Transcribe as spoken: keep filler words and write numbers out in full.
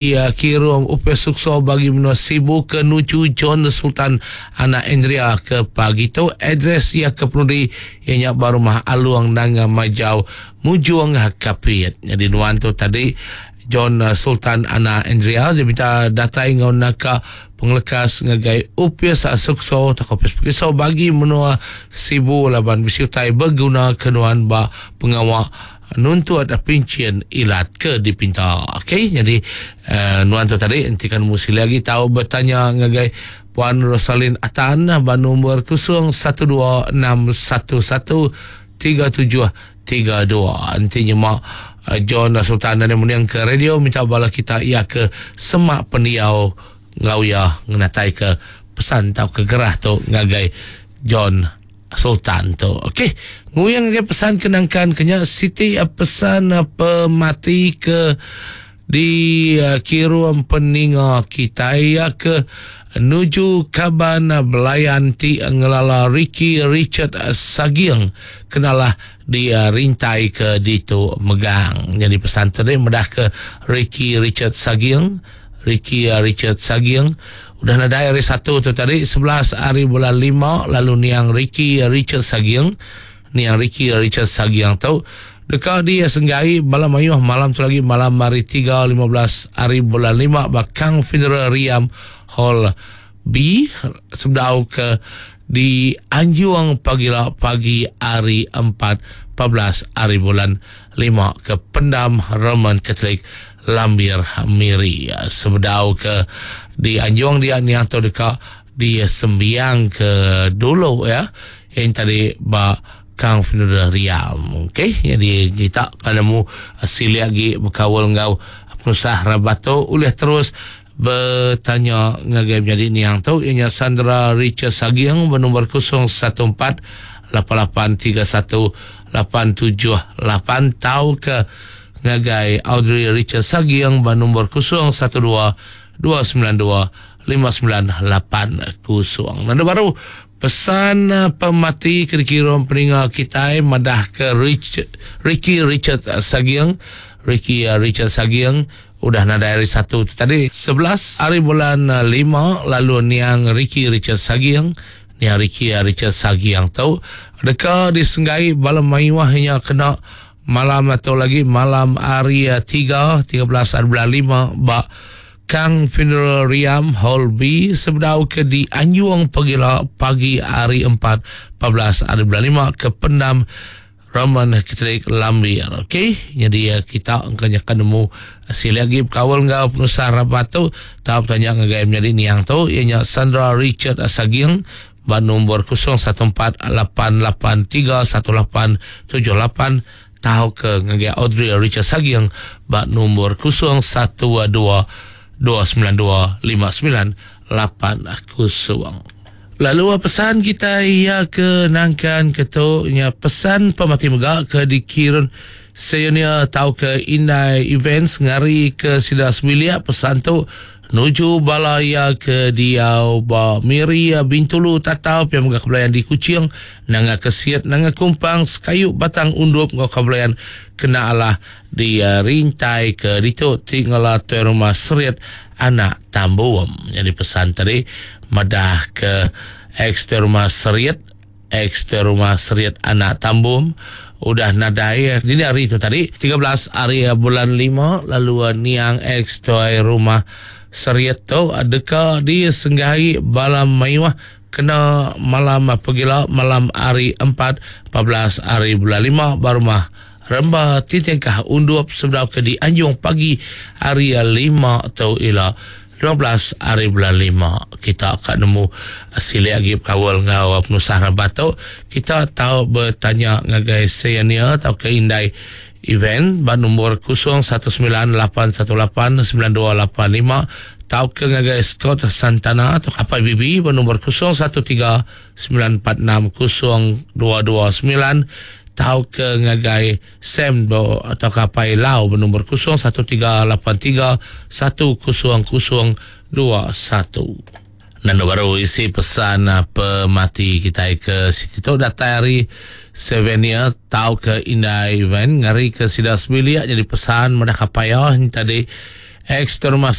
Ia kirum upis sukso bagi menua Sibu ke nuju John Sultan anak Andrea ke pagi tu. Address ia ke penudi ianya ba rumah Alung Nanga Majau Mujung Kapit. Jadi nuan tu tadi John Sultan anak Andrea dia minta datai ngau naka pengelekas ngagai upis sukso atau upis perkiso bagi menua Sibu laban bisi utai beguna ke nuan ba pengawa nuntut pincin ilat ke dipinta. Okey, jadi uh, nuan tu tadi enti kan musi lagi tahu bertanya ngagai Puan Rosalin Atan ba nombor kosong satu dua enam satu satu tiga tujuh tiga dua. Enti nyemak uh, John Sultan dan meniang ke radio minta bala kita ia ke semak pendiau ngau ia ngenatai ke pesan tau ke gerah tu ngagai John Sultan tu. Okey, nguyang ngagai pesan kenangkan kenya Siti pesan pemati ke di uh, kirum peninga kita ya ke nuju kaban belayan ti ngelala Ricky Richard Sagiang kenalah di uh, rintai ke ditu megang. Jadi pesan tadi medah ke Ricky Richard Sagiang, Ricky Richard Sagiang udah nadai hari satu tu tadi sebelas hari bulan lima lalu niang Ricky Richard Sagiang, niang Ricky Richard Sagiang tu dekat dia senggai bala mayuh malam tu lagi malam hari tiga lima belas hari bulan lima bakang funeral Riam Hall B sebedau ke di Anjuang pagi la pagi hari empat empat belas hari bulan lima ke Pendam Roman Catholic Lambir Miri. Sebedau ke di Anjuang dia niang tu dekat di sembiang ke dulu ya yang tadi ba Kang Funeral Riam. Okey, jadi kita kalau mu sili lagi berkawal ngau penusah rabato boleh terus bertanya ngagai menjadi niang tu ianya Sandra Richard Sagiang bernombor kosong satu empat lapan lapan tiga satu lapan tujuh lapan tau ke ngagai Audrey Richard Sagiang bernombor kosong satu dua dua sembilan dua lima sembilan lapan kosong. Nada baru pesan pemati kira-kira peninga kita madah ke Rich, Ricky Richard Sagiang, Ricky Richard Sagiang udah nada hari satu tu tadi sebelas hari bulan lima lalu niang Ricky Richard Sagiang, niang Ricky Richard Sagiang tu deka disenggai bala mayuahnya kena malam atau lagi malam hari tiga tiga belas hari bulan lima ba Kang Funeral Riam Hall B sebedau ke di Anjuang pagi la pagi hari empat empat belas hari bulan lima ke Pendam Roman Catholic Lambir. Okey, jadi kita angkanya kan nemu sili lagi berkawal ngau penusah rabat tu tahap tanya ngagai menjadi niang tu ianya Sandra Richard Sagiang ba nombor kosong satu empat lapan lapan tiga satu lapan tujuh lapan tahu ke ngagai Audrey Richard Sagiang ba nombor kosong satu dua dua sembilan dua lima sembilan lapan kosong. Lalu pesan kita ia ke nangkan ketuknya pesan pemati megak ke dikirun seyonia tau ke Indai Events ngari ke sida sebilia pesan tu nuju balaya ke diau ba Miri Bintulu Tatau pia megak kebelayan di Kuching nanga kesiat nanga kumpang sekayu batang undup ngau kebelayan kena alah di uh, rintai ke ditu tinggal tu rumah Seriat anak Tambuam. Jadi pesan tadi madah ke ex rumah Seriat, ex rumah Seriat anak Tambum udah nadai dini hari itu tadi tiga belas hari bulan lima lalu niang ex tuai rumah Seriat tu adakah disenggahi balam mayuah kena malam pegila malam hari empat empat belas hari bulan lima barumah Remba titikah undup sebab ke di Anjung pagi hari lima atau ila lima belas hari bulan lima. Kita akan nemu sili lagi berkawal ngau penusah rabat tu. Kita tahu bertanya ngagai senior atau ke Indai Event ba nombor kosong satu sembilan lapan satu lapan sembilan dua lapan lima tau ke ngagai Scott Santana atau K P B B ba nombor kosong satu tiga sembilan empat enam kosong dua dua sembilan tau ke ngagai Sam do atau Kapai Lau bernombor kosong satu tiga lapan tiga satu kosong kosong dua satu. Nando baru isi pesan pemati kita ke situ tu datang hari Sevenia tau ke Indai Event ngari ke sida sebilia jadi pesan madah kapaya tadi Ex terima.